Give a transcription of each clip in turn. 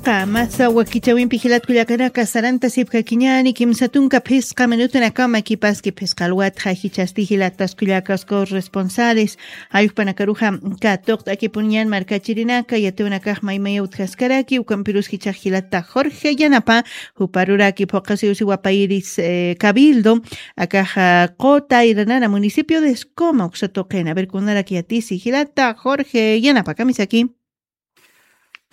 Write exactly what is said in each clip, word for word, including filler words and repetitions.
Qamasa wakichawimpi jilat kullakanaka, sarantasipkakiñäni kimsa tunka phisqa minutunakama kipaski phisqa alwatxa jichhasti jilatas kullakas corresponsales. Jayukpanakaruxa katuqt'akipuniñän markachirinaka, yatiwanakax maymaya utjaskaraki, ukampirus jichhax jilata Jorge Yanapa, juparuraki phuqasiw siwapayiri, eh, Cabildo, akaxa Qota Irnana, municipio de Escoma, uksa tuqina. A ver, kunarak yatisi jilata Jorge Yanapa, kamisaki.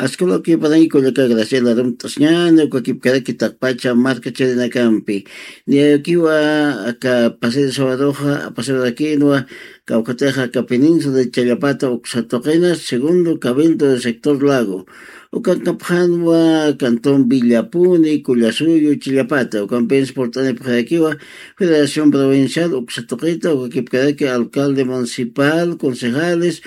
Askham ukipanayi kullaka Graciela, arumt'asiñäni ukakipkaraki taqpacha markachirinakampi. Niyakiwa aka pasado sabadoxa, pasado rakinwa, kawkatixa aka península de Challapata uksa tuqina, segundo cabildo del sector Lago. Ukankapxänwa cantón Villapuni, Collasuyu, Chillapata. Ukampins purt'anipxarakiwa Federación Provincial uksa tuqita, ukakipkaraki alcalde municipal, concejales,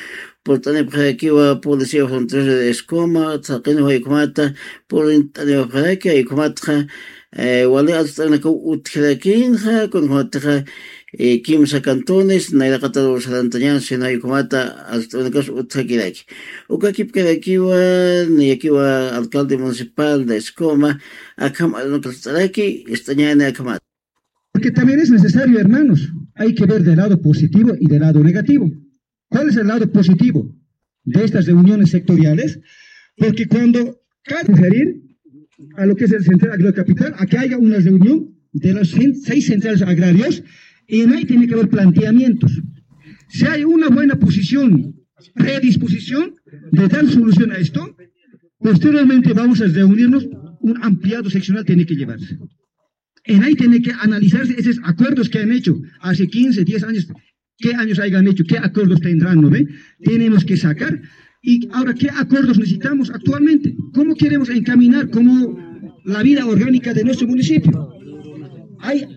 purt'anipxarakiwa Policía Fronteriza de Escoma, thaqinwa jaykhumata purt'anipxaraki, jaykhumataxa, eh, wali arst'anakaw utjirakinxa, kunjumataxa, eh, kimsa cantones nayraqataru sarantañän, sino jaykhumata arst'anakas utjakiraki. Ukakipkarakiwa, niyakiwa alcalde municipal de Escoma, akham arunaka arst'araki, ist'añäni akhamat. Porque también es necesario, hermanos, hay que ver del lado positivo y del lado negativo. ¿Cuál es el lado positivo de estas reuniones sectoriales? Porque cuando cabe referir a lo que es el Central Agrocapital, a que haya una reunión de los cen- seis centrales agrarios, y en ahí tiene que haber planteamientos. Si hay una buena posición, predisposición de dar solución a esto, posteriormente vamos a reunirnos, un ampliado seccional tiene que llevarse. En ahí tiene que analizarse esos acuerdos que han hecho hace quince, diez años, qué años hayan hecho, qué acuerdos tendrán, ¿no ve? Tenemos que sacar. Y ahora, ¿qué acuerdos necesitamos actualmente? ¿Cómo queremos encaminar como la vida orgánica de nuestro municipio? Hay,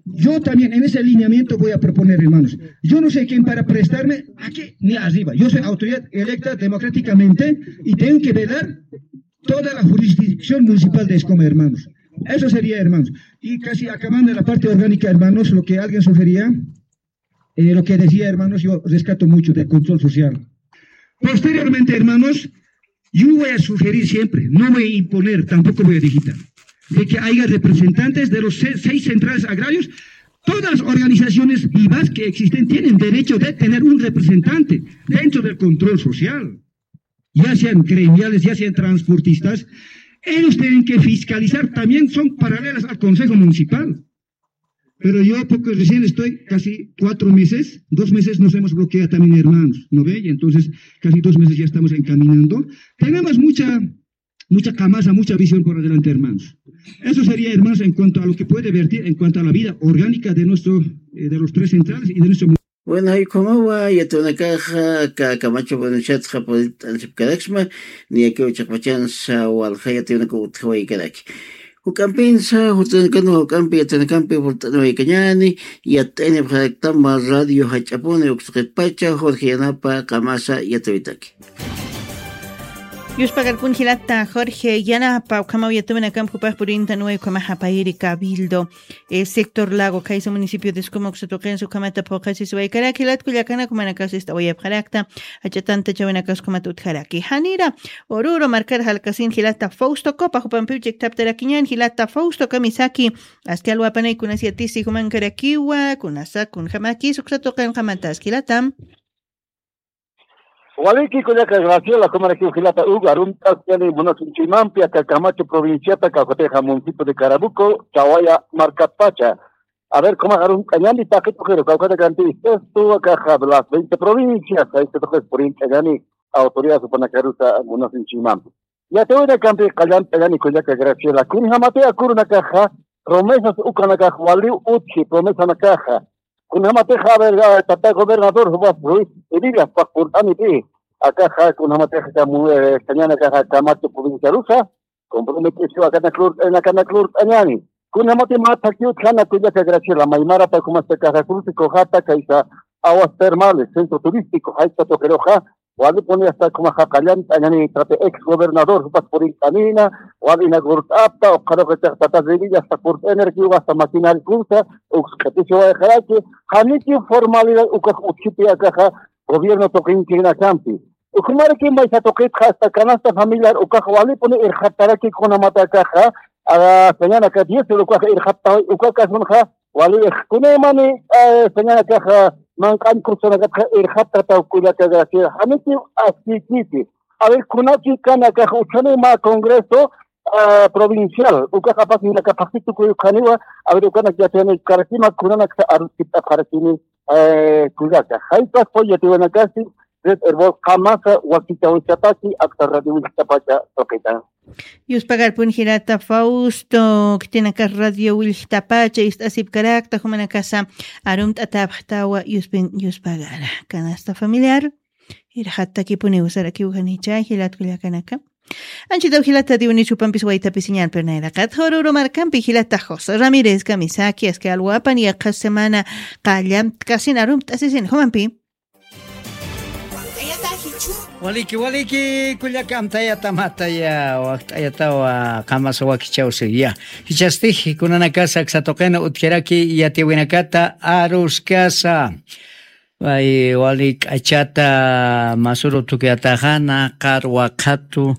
yo también en ese lineamiento voy a proponer, hermanos. Yo no sé quién para prestarme aquí ni arriba. Yo soy autoridad electa democráticamente y tengo que velar toda la jurisdicción municipal de Escoma, hermanos. Eso sería, hermanos. Y casi acabando la parte orgánica, hermanos, lo que alguien sugería, eh, lo que decía, hermanos, yo rescato mucho del control social. Posteriormente, hermanos, yo voy a sugerir siempre, no voy a imponer, tampoco voy a digitar, de que haya representantes de los se- seis centrales agrarios. Todas las organizaciones vivas que existen tienen derecho de tener un representante dentro del control social, ya sean gremiales, ya sean transportistas. Ellos tienen que fiscalizar, también son paralelas al Consejo Municipal. Pero yo, porque recién estoy casi cuatro meses, dos meses nos hemos bloqueado también, hermanos, ¿no ve? Y entonces, casi dos meses ya estamos encaminando. Tenemos mucha, mucha camasa, mucha visión por adelante, hermanos. Eso sería, hermanos, en cuanto a lo que puede vertir en cuanto a la vida orgánica de nuestro, eh, de los tres centrales y de nuestro Bueno, jaykhamawa yatiyunakaxa, aka Camacho provinciatxa purt'anisipkaraksma, niyakiw chiqpachansa walja yatiyunakaw utjawaykaraki. Juk'ampinsa, jutanakanwa juk'ampi yatiyunakampi purt'aniwaykañäni, yat'aynipxaraktama radio jach'apuni uksuqitpacha, Jorge Yanapa, qamasa yatiyuytaki. Yuspakarpun jilata Jorge Yanapa, ukhamaw yatiyunakamp jupax purintanwa, ukhamax apayiri Cabildo, eh, sector Lago, khaysa municipio de Escoma uksa tuqinsa ukhamata phuqasisiwaykarak jilat kullakanaka, jumanakax ist'awayapxarakta, jach'a tantachawinakas ukhamata utjaraki. Janira Oruro markar jalkasin jilata Fausto Copa, jupampiw chikthaptarakiñän jilata Fausto, kamisaki, aski alwapanay kunas yatisi jumankarakiwa, kunasa kunjamakis uksa tuqinqamatas jilata. Waliki kullaka Graciela, jumarakiw jilata Hugo, arumt'asiñäni munasinchimampi aka Camacho provinciata, kawkatixa municipio de Carabuco, Chawaya markatpacha. A ver, jumax arumt'añäni taqi tuqiru, kawkatakanti sexto, akaxa de las veinte provincias, sexto tuqis purint'añäni autoridad jupanakarusa munasinchimampi. Yatiyunakampi qallant'añäni kullaka Graciela, kunjamati acuerdonakaxa, promesas ukanakax waliw utji, promesanakaxa. Kunjamatixa, a ver, a, tata gobernador, jupas Ruiz Hebillas, jupax purt'anipï. Akaxa, kunjamatixa, kamu, eh, sañanakaxa, Camacho provinciarusa, comprometesiwa akanak lurt'añani, akanak lurt'añani. Kunjamati mä thakhi utjkana kullaka Graciela, maymarata jumas akaxa, cruce Cojata, kaysa aguas termales, centro turístico, jaysa tuqiruxa, walipuni hasta jumaxa qallant'añani, tata ex gobernador, jupas purint'anïna, wal inaugurt'apta, ukxaruxa tata Hebillas, hasta purt'añarakiwa, hasta maquinaria kunsa, uks q'itisiwayxaraki, janiti formalidad ukax utjipï akaxa, gobierno tuqinchinakampi. Ukhumaraki maysa tuqitxa hasta canasta familiar ukax walipuni irxataraki kunamata akaxa, sañanaka diez ukax irxattawi uka kasunxa wali irxkunimani, sañanakaxa manq'añ kursanakatxa irxatataw kullaka Graciela, janiti askikiti. A ver, kunaki kanakax uchani ma congreso provincial ukax apasinaka phaxi tukuy ukhaniwa. A ver, ukanak yatiyani karakima kunanaksa aruskipt'apxarakini. Kullaka jaypas poy yatiwanakasi red herbol qamasa wakitawistapaki aksa radio willtapacha tuqita. Yuspagarpun jilata Fausto, khitinakar radio willtapacha ist'asipkarakta jumanakasa arumt'atapxtawa yuspin yuspagara canasta familiar. Irxattakipuniw sarakiw janicha jilat kullakanaka. Anchitaw jilata diwni chupampis waytapisiñan pirnayraqat jururu markampi jilata José Ramírez kamisaki aski alwapan yaqha semana qallamtkasin arumt'asisin jumampi. Waliki waliki kullaka amtayatamataya wakt'ayatawa qamasa wakichawsi ya. Jichastix kunanakas aksa tuqina utjaraki yatiwinakata aruskasa. Ay wali k'achata masuru tukuyataxana qarwa qhatu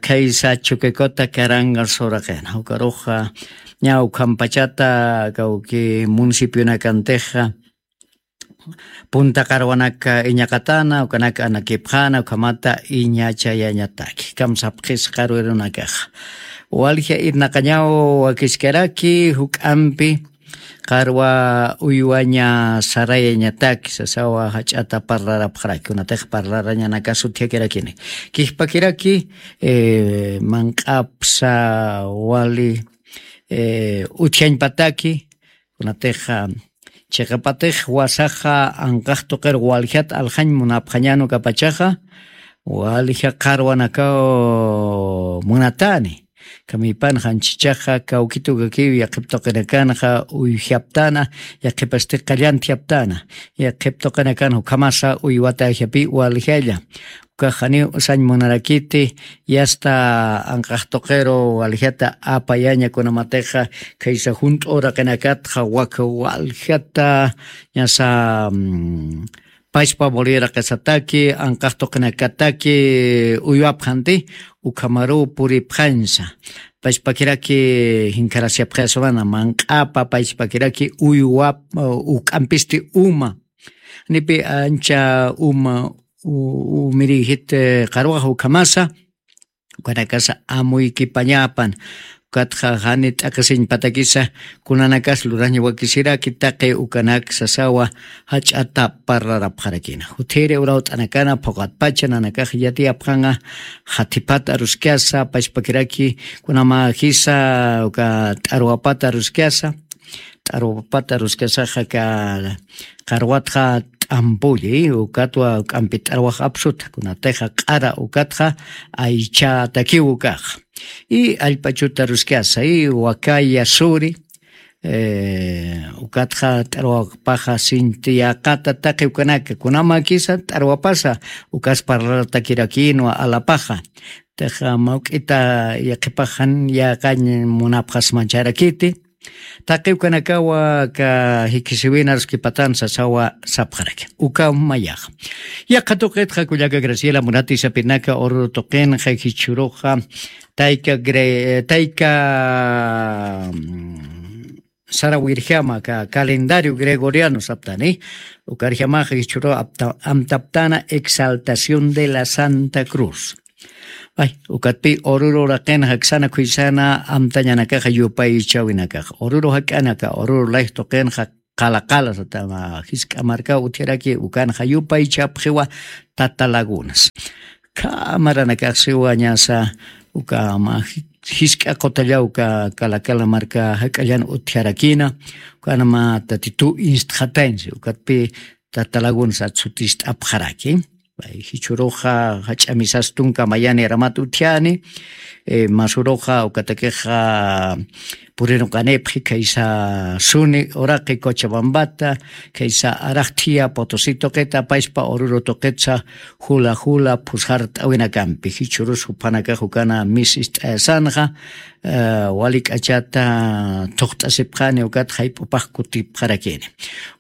khaysa chukikuta karanga suraqina ukaruxa ña ukhampachata kawki municipionakantixa punta qarwanaka iñaqatana ukanaka anakipxana ukhamata iñachayañataki kamsapxis qarwirunakaxa. Walja irnaqañaw wakiskaraki juk'ampi qarwa uywaña sarayañataki sasawa jach'ata parlarapxaraki kunatix parlarañanakas utjakirakini. Kijpakiraki manq'apsa wali utjañpataki kunatix chiqapatix wasaxa anqax tuqir waljat aljañ munapxañan ukapachaxa walja qarwanakaw munatani. Kamipan janchichaxa kawkitukakiw yaqhip tuqinakanxa uyjaptana yaqhipasti qallantjaptana yaqhip tuqinakan ukhamasa uywata ajapï waljalla. Ukax janiw usañ munarakiti yasta anqax tuqiru waljata apayaña kunamatixa khaysa junt'u uraqinakatxa waka waljata ñasa pachpa boliraqisataki anqax tuqinakataki uywapxanti ukhamaruw puripxañsa. Pachpakiraki jinkharasipxayasumana manq'apa pachpakiraki uywap uk'ampisti uma nipi ancha uma umiriyjit qarwax ukhamasa ukanakasa amuykipañapan. Ukatxa jani t'aqisiñpatakisa kunanakas luraña wakisiraki taqi ukanak sasawa jach'ata parlarapxarakina jutiri urawt'anakana phuqatpacha nanakax yatiyapxanqa. Jathipat aruskasa pachpakiraki kunama jisa uka t'arwapat aruskasa t'arwapat aruskasaxa ka qarwatxa t'ampulli ukatwa k'ampi t'arwax apsuta kunatixa q'ara ukatxa aychatakiw ukaxa. Y allp'achuta ruskasa y wakaya suri ukatxa t'arwapaxa sinti yaqata taqi ukanaka kunamakisa t'arwapasa ukas parlaratakirakinwa alapaxa. Tixa mawk'ita yaqhipaxan yaqañ munapxasmancharakiti taqi ukanakawa ka jikisiwina ruskipatan sasawa sapxaraki uka mayaxa. Yaqha tuqitxa kullaka graciela munati sapinaka ururu tuqinxa jichhuruxa tayka tayka sarawirjama ka calendario gregoriano saptani ukarjamaxa jichhuru amtaptana exaltación de la santa cruz. Ukatpi ururu raqinxa ksana khuysana amtañanakaxa yupaychawinakaxa ururu jak'anaka ururu layj tuqinxa qala qala satama jisk'a markaw utjaraki ukanxa yupaychapxiwa tata lagunas. Khamaranakaxsiwa ñasa ukama jisk'a qutallaw uka kala kala marka jak'allan utjarakina ukanama tatitu instxatañsi ukatpi tata lagunas atsutist'apxaraki. Jichhuruxa jach'a misas tunka mayani ramat utjani masuruxa ukatakixa puriruqanipxi khaysa suni uraqi cochabambata khaysa araqthiya potosi tuqita apaspa ururu tuqitsa jula jula phusqart'awinakampi jichhurus juphanakax ukana mis ist'ayasanxa. eh, wali k'achata thuqt'asipxani ukat jayp'upax kutipxarakini.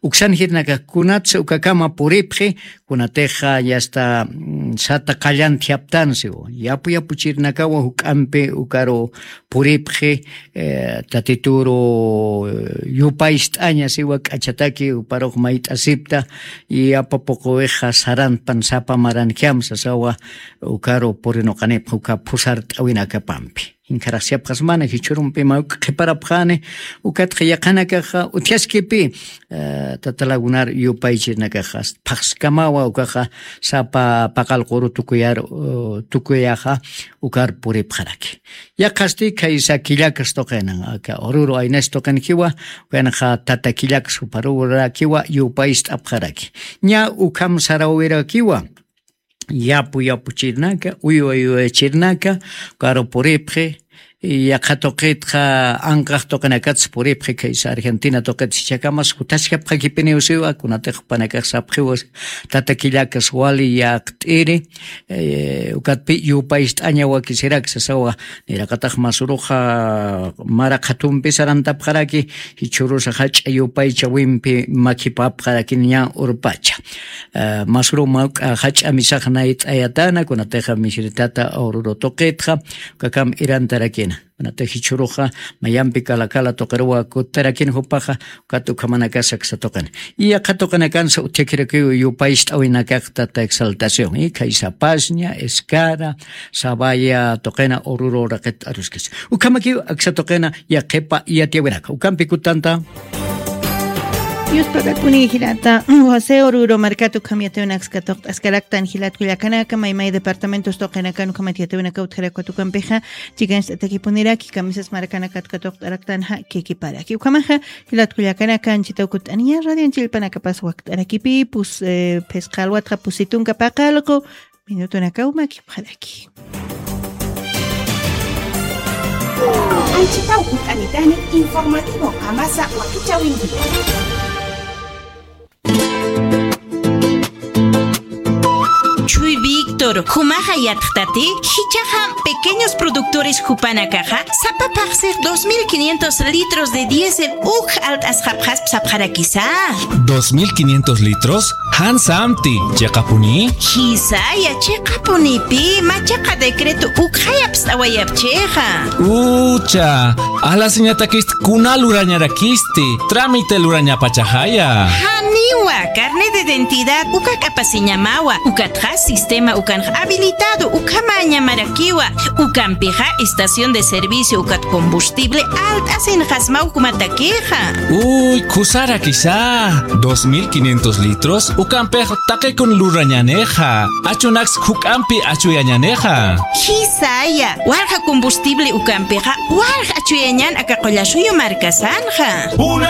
Uksan jirnakax kunatsa ukakama puripxi, kunatixa ya está, mm, sata qallan thiyaptansiw. Yapu yapuchirnakawa juk'ampi ukaru puripxi, eh, tatituru, eh, yupaycht'aña siwa k'achataki uparux mayt'asipta, y apapuquwixa saranpan sapa maranjam sasawa ukaru purinuqanipx uka phusart'awinakapampi. Inkharaxsiyapxasmana jichhurumpi mawk qhiparapxani, ukatxa yaqhanakaxa utjaskipi, eh, tatalagunar yupaychirnakaxa, phaxskamawa ukaxa sapa paqal quru tukuyar, uh, tukuyaxa ukar puripxaraki. Yaqhasti khaysa killakas tuqinan, aka Oruro aynas tuqinkiwa, ukanxa tata killakas uparurakiwa yupaycht'apxaraki. Ña ukham sarawirakiwa, yapu yapuchirnaka, uywa uywachirnaka, ukaru puripxi, yaqha tuqitxa anqax tuqinakatsa puripxi, khaysa Argentina tuqit jichhakamas juthaskapxakipiniw siwa, kunatix jupanakax sapxiwa, tata killakas wali yaqt'iri, eh, ukatpi yupaycht'aña wakisirak sasawa, niraqatax masuruxa mara qhatumpi sarantapxaraki, jichhurusa jach'a yupaychawimpi makhipapxarakini ña urpacha. Eh, masuru mawk'a jach'a misax nayt'ayatana, kunatixa misiritata Oruro tuqitxa, ukakam irantarakina. Kunatix jichhuruxa mayampi kala kala tuqiruwa kutarakina jupaxa, ukat ukhamanakasa aksa tuqina. Y yaqha tuqinakansa utjakirakiw yupaycht'awinakax tata Exaltación, y khaysa Pashña, Escara, Sabaya tuqina Oruro raqit aruskis. Ukhamakiw aksa tuqina yaqhipa yatiyawinaka. Ukampi kutanta. Yuspagakuni jilata, José Oruro markat ukham yatiyawinaksa katuqt'askaraktan jilat kullakanaka, maymay departamentos tuqinakan ukhamat yatiyawinaka utjarak ukampixa, chikanchtatakipunirak, kamisas markanakat katuqt'araktan ja, kikiparaki. Ukhamaxa, jilat kullakanaka, anchita ukut'aniya, radio anchilpanakapas wakt'arakipipus, eh, phisqa alwatxa pusitunka paqalqu, minutunakaw makipxaraki. Anchita ukut'anitani informativo qamasa wakichawinki. Chuy Víctor, jumaxa yatxtati, jichaxa pequeños productores jupanakaxa, sapa phaxsix dos mil quinientos litros de diésel uk alt'asxapxasp sapxarakisa. ¿Dos mil quinientos litros? Jan samti, chiqapuni. Jisaya, chiqapunipi, machaqa decreto ukxayapst'awayapchixa. Ucha, alasiñatakist kuna lurañarakisti, trámite lurañapachaxaya. Janiwa, carnet de identidad, uka k'apasiñamawa, ukatxa sistema ukanx habilitado, ukhamañamarakiwa, ukampixa estación de servicio ukat combustible alt'asinxasmaw jumatakixa. Uy, khusarakisa, dos mil quinientos litros, ukampix taqikun lurañanixa, achunaks juk'ampi achuyañanixa. Jisaya, walja combustible ukampixa, walja achuyañan aka qullasuyu markasanxa. Una